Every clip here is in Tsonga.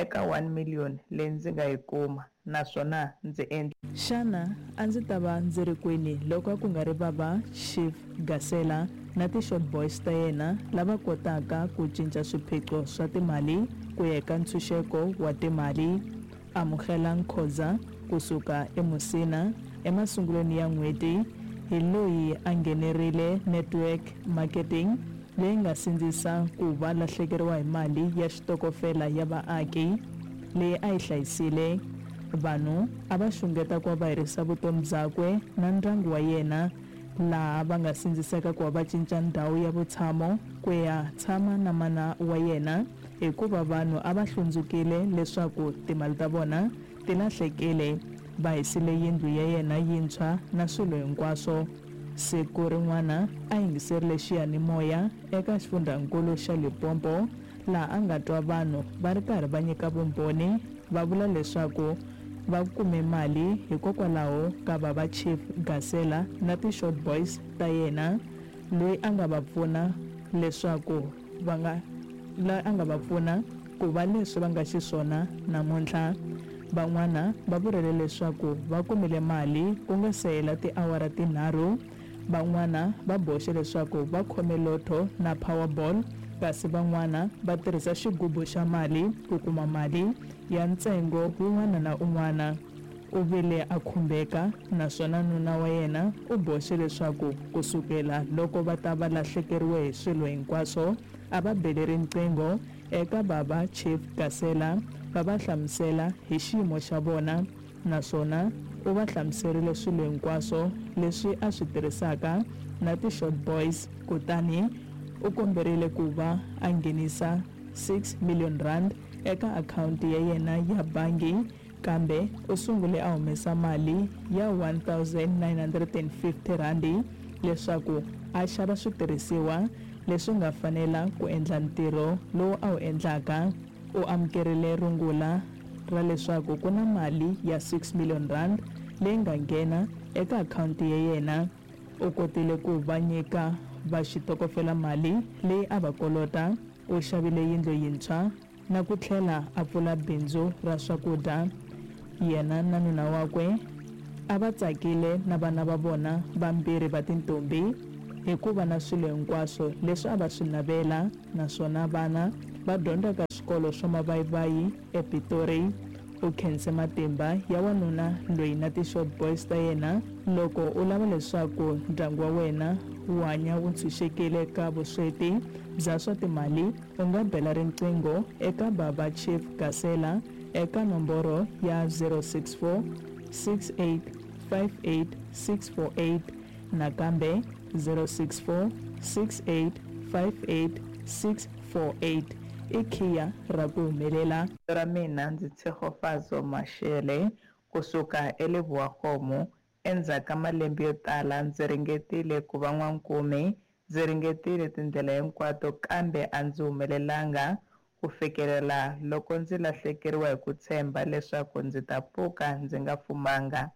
Eka 1 million leyi ndzi nga yi kuma naswona ndzi endle. Xana a ndzi ta va ndzi ri kwini loko a ku nga ri Baba Chief Gasela na ti Short Boys ta yena lava kotaka ku cinca swiphiqo swa timali ku ya eka ntshunxeko wa timali? Amukela Nkhoza ku suka eMusina emasungulweni ya n'hweti hi loyi a nghenerile network marketing leyi nga sindzisa ku va lahlekeriwa hi mali ya xitokofela ya vaaki leyi a yi hlayisile. Vanhu a va xungeta ku va va herisa vutomi byakwe na ndyangu wa yena, laha va nga sindziseka ku va va cinca ndhawu ya vutshamo ku ya tshama na mana wa yena hikuva vanhu a va hlundzukile leswaku timali ta vona ti lahlekile. Va hisile yindlu ya yena yintshwa na swilo hinkwaswo. Siku rin'wana a yingiserile xiyanimoya eka xifundhankulu xa Limpopo laha a nga twa vanhu va ri karhi va nyika vumbhoni va vula leswaku va kume mali hikokwalaho ka Baba Chief Gasela na ti Short Boys ta yena loyi a nga va pfuna leswaku va nga loyi a nga va pfuna ku va leswi va nga xiswona namuntlha. Van'wana va vurile leswaku va kumile mali ku nga se hela tiawara tinharhu. Van'wana va boxe leswaku va khome lotto na Powerball kasi van'wana va tirhisa xigubu xa mali ku kuma mali ya ntsengo wun'wana na un'wana. U vile a khumbeka naswona nuna wa yena u boxe leswaku ku sukela loko va ta va lahlekeriwe hi swilo hinkwaswo a va bele riqingho eka Baba Chief Gasela va va hlamusela hi xiyimo xa vona naswona u va hlamuserile swilo hinkwaswo leswi a swi tirhisaka na ti Short Boys kutani u komberile ku va a nghenisa 6 million rand eka akhawunti ya yena ya bangi kambe u sungule a humesa mali ya 1950 rhandi leswaku a xava switirhisiwa leswi nga fanela ku endla ntirho lowu a wu endlaka. U amukerile rungula ra leswaku ku na mali ya 6 million rand leyi nga nghena eka akhawunti ya yena. U kotile ku va nyika va xitokofela mali leyi a va kolota. U xavile yindlu yintshwa na ku tlhela a pfula bindzu ra swakudya. Yena na nuna wakwe a va tsakile na vana va vona vambirhi va tintombhi hikuva na swilo hinkwaswo leswi a va swi navela naswona vana va dyondza ka swikolo swa mavayivayi ePitori. U khense matimba ya wanuna loyi na ti-short boys ta yena. Loko u lava leswaku ndyangu wa wena wu hanya wu ntshunxekile ka vusweti bya swa timali, u nga bela riqingho eka Baba Chief Gasela eka nomboro ya 064 68 58 648 nakambe 064 68 58 648 i khiya ra ku humelela. Vito ra mina ndzi Tshegofatso Mashele ku suka eLebowakgomo. Endzhaku ka malembe yo tala ndzi ringetile ku va n'wankumi. Ndzi ringetile tindlela hinkwato kambe a ndzi humelelanga ku fikelela loko ndzi lahlekeriwa hi ku tshemba leswaku ndzi ta pfuka ndzi nga fumanga.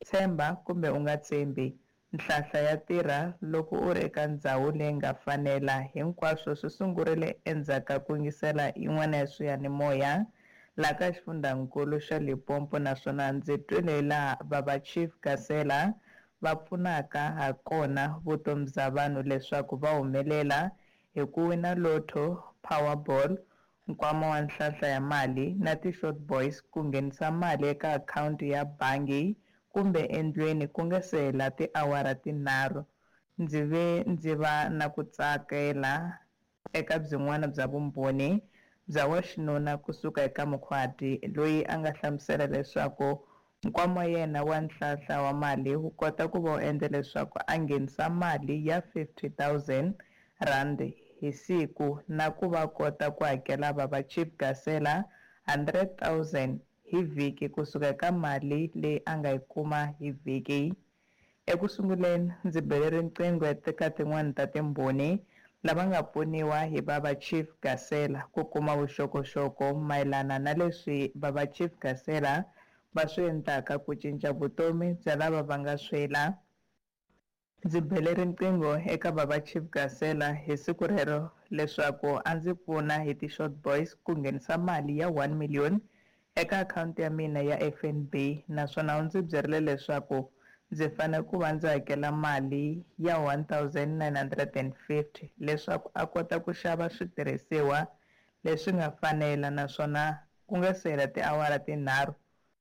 Tshemba kumbe u nga tshembi, nhlahla ya tirha loko u ri eka ndzhawu leyi nga fanela. Hinkwaswo swi sungurile endzhaku ka ku yingisela yin'wana ya swiyanimoya laha ka xifundhankulu xa Limpopo naswona ndzi twile laha Baba Chief Gasela va pfunaka ha kona vutomi bya vanhu leswaku va humelela hi ku wina lotto, Powerball, nkwama wa nhlahla ya mali na ti-Short Boys ku nghenisa mali eka akhawunti ya bangi kumbe endlwini ku nga se hela tiawara tinharhu. Ndzi ve ndzi va na ku tsakela eka byin'wana bya vumbhoni bya wa xinuna kusuka eka Mukhwati loyi a nga hlamusela leswaku nkwama wa yena wa nhlahla wa mali wu kota ku va wu endla leswaku a nghenisa mali ya 50 000 rand hi siku na ku va kota ku hakela Baba Chief Gasela 100 000 hi vhiki kusuka eka mali leyi a nga yi kuma hi vhiki. Eku sunguleni ndzi bele riqingho eka tin'wani ta timbhoni lava nga pfuniwa hi Baba Chief Gasela ku kuma vuxokoxoko mayelana na leswi Baba Chief Gasela va swi endlaka ku cinca vutomi bya lava va nga swela. Ndzi bele riqingho eka Baba Chief Gasela hi siku rero leswaku a ndzi pfuna hi ti-short boys ku nghenisa mali ya 1 million eka akhawunti ya mina ya FNB, naswona u ndzi byerile leswaku ndzi fanele ku va ndzi hakela mali ya 1950 leswaku a kota ku xava switirhisiwa leswi nga fanela, naswona ku nga se hela tiawara tinharhu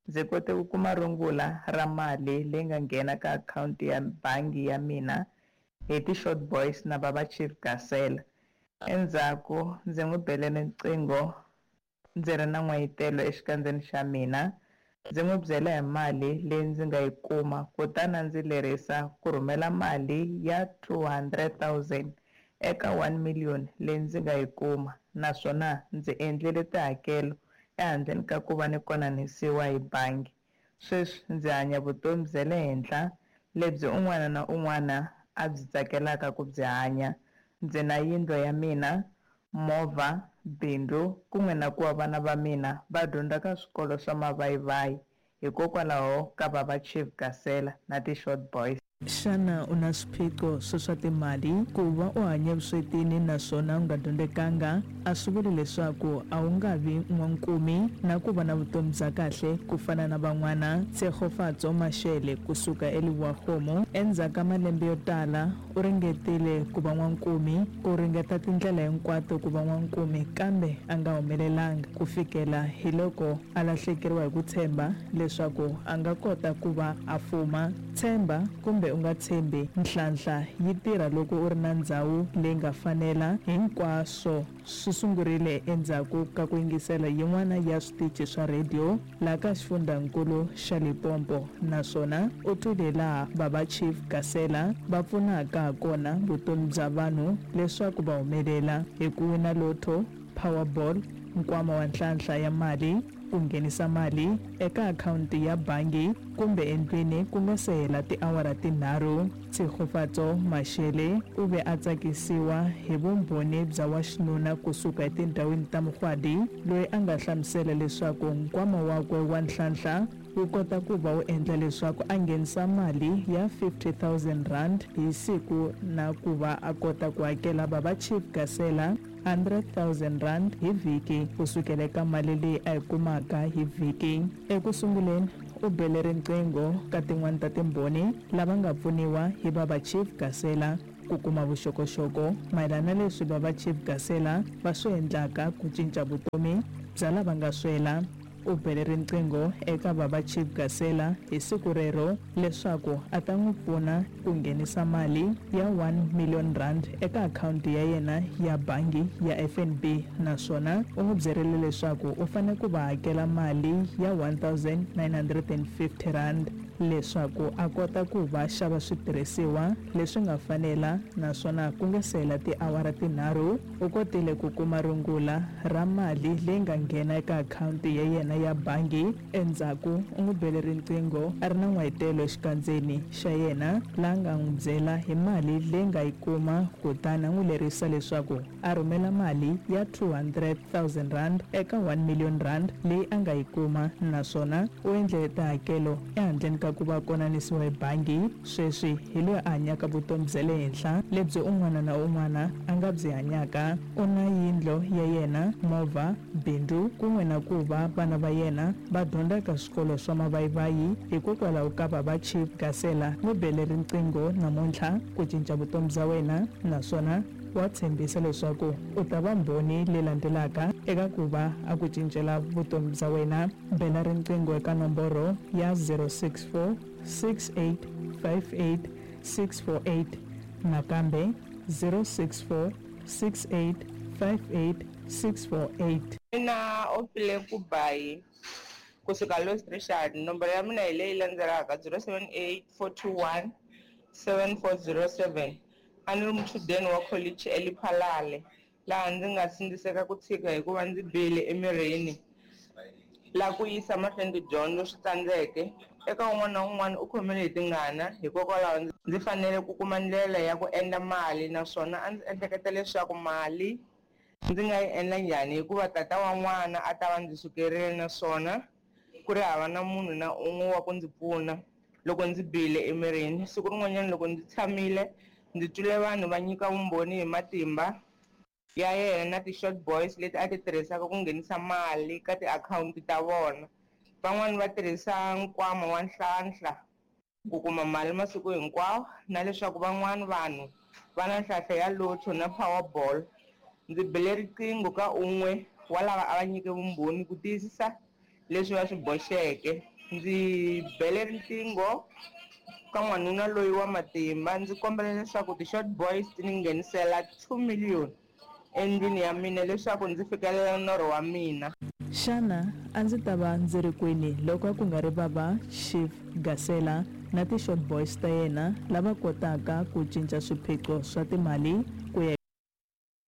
ndzi kote ku kuma rungula ra mali leyi nga nghena ka akhawunti ya bangi ya mina hi ti-short boys na Baba Chief Gasela. Endzhaku ndzi n'wi bele riqingho ndzi ri na n'wayitelo exikandzeni xa mina, ndzi n'wi byela hi mali leyi ndzi nga yi kuma, kutani a ndzi lerisa ku rhumela mali ya 200 000 eka 1 million leyi ndzi nga yi kuma, naswona ndzi endlile tihakelo ehandleni ka ku va ni konanisiwa hi bangi. Sweswi ndzi hanya vutomi bya le henhla lebyi un'wana na un'wana a byi tsakelaka ku byi hanya. Ndzi na yindlu ya mina, movha, bindzu, kun'we na ku va vana va mina va dyondza ka swikolo swa mavayivayi hikokwalaho ka Baba Chief Gasela na ti-short boys. Xana u na swiphiqo swa swa timali? Ku va u hanya vuswetini naswona u nga dyondzekanga a swi vuli leswaku a wu nga vi n'wankumi na ku va na vutomi bya kahle ku fana na van'wana. Tshegofatso Mashele kusuka eLebowa-Kgomo, endzhaku ka malembe yo tala u ringetile ku va n'wankumi, ku ringeta tindlela hinkwato ku va n'wankumi, kambe a nga humelelanga ku fikela hi loko a lahlekeriwa hi ku tshemba leswaku a nga kota ku va a fuma. Tshemba kumbe u nga tshembi, nhlanhla yi tirha loko u ri na ndhawu leyi nga fanela. Hinkwaswo swi sungurile endzhaku ka ku yingisela yin'wana ya switichi swa rhediyo laha ka xifundzankulu xa Limpopo, naswona u twile laha Baba Chief Gasela va pfunaka hakona vutomi bya vanhu leswaku va humelela hi ku wina lotto, Powerball, nkwama wa nhlanhla ya mali, ku nghenisa mali eka akhawunti ya bangi kumbe endlwini ku nga se hela tiawara tinharhu. Tshegofatso Mashele u ve a tsakisiwa hi vumbhoni bya wa xinuna kusuka etindhawini ta Mugwadi, loyi a nga hlamusela leswaku nkwama wakwe wa nhlanhla wu kota ku va wu endla leswaku a nghenisa mali ya 50 000 rand hi siku na ku va a kota ku hakela Baba Chief Gasela 100 000 rand hi vhiki kusukela eka mali leyi a yi kumaka hi vhiki. Eku sunguleni u bele riqingho ka tin'wani ta timbhoni lava nga pfuniwa hi Baba Chief Gasela ku kuma vuxokoxoko mayelana na leswi Baba Chief Gasela va swi endlaka ku cinca vutomi bya lava nga swela. U bele riqingho eka Baba Chief Gasela hi siku rero leswaku a ta n'wi pfuna ku nghenisa mali ya 1 million rand eka akhawunti ya yena ya bangi ya FNB, naswona u n'wi byerile leswaku u fanele ku va hakela mali ya 1950 rand leswaku a kota ku va xava switirhisiwa leswi nga fanela, naswona ku nga se hela tiawara tinharhu u kotile ku kuma rungula ra mali leyi nga nghena eka akhawunti ya yena ya bangi. Endzhaku u n'wi bele riqingho a ri na n'wayitelo exikandzeni xa yena, laha nga n'wi byela hi mali leyi nga yi kuma, kutani a n'wi lerisa leswaku a rhumela mali ya 200 000 rand eka 1 million rand leyi a nga yi kuma, naswona u endle tihakelo ehandleni ka ku va konanisiwa hi bangi. Sweswi hi loyi a hanyaka vutomi bya le henhla lebyi un'wana na un'wana a nga byi hanyaka. U na yindlu ya yena, movha, bindzu, kun'we na ku va vana va yena va dyondza ka swikolo swa mavayivayi hikokwalaho ka Baba Chief Gasela. N'wi bele riqingho namuntlha ku cinca vutomi bya wena, naswona wa tshembisa leswaku u ta va mbhoni leyi landzelaka eka ku va a ku cincela vutomi bya wena. Bela riqingho eka nomboro ya 064 6858 648, nakambe 064 6858 648. Mina Opile Kubayi kusuka Louis Richard. Nomboro ya mina hi leyi landzelaka: 078 421 7407. A ni ri muchudeni wa kholichi eLephalale, laha ndzi nga sindziseka ku tshika hikuva ndzi bihile emirini, laha ku yisa mahlweni tidyondzo swi tsandzeke. Eka un'wana na un'wana u khomile hi tingana, hikokwalaho ndzi fanele ku kuma ndlela ya ku endla mali, naswona a ndzi ehleketa leswaku mali ndzi nga yi endla njhani hikuva tata wa n'wana a ta va ndzi sukerile naswona ku ri hava na munhu na un'we wa ku ndzi pfuna. loko ndzi bihile emirini. Siku rin'wanyana loko ndzi tshamile, ndzi twile vanhu va nyika vumbhoni hi matimba ya yena na ti-short boys leti a ti tirhisaka ku nghenisa mali ka tiakhawunti ta vona. Van'wani va tirhisa nkwama wa Nhlanhla ku kuma mali masiku hinkwawo na leswaku van'wani vanhu va na nhlahla ya Lotto na Powerball. Ndzi bile riqingho ka un'we wa lava a va nyike vumbhoni ku tiyisisa leswi va swi boxeke. Ndzi bele riqingho ka n'wanuna loyi wa matimba ndzi kombela leswaku ti-short boys ti ni nghenisela 2 million endlwini ya mina leswaku ndzi fikelela norho wa mina. Xana a ndzi ta va ndzi ri kwini loko a ku nga ri bava Chief Gasela na ti-short boys ta yena lava kotaka ku cinca swiphiqo swa timali?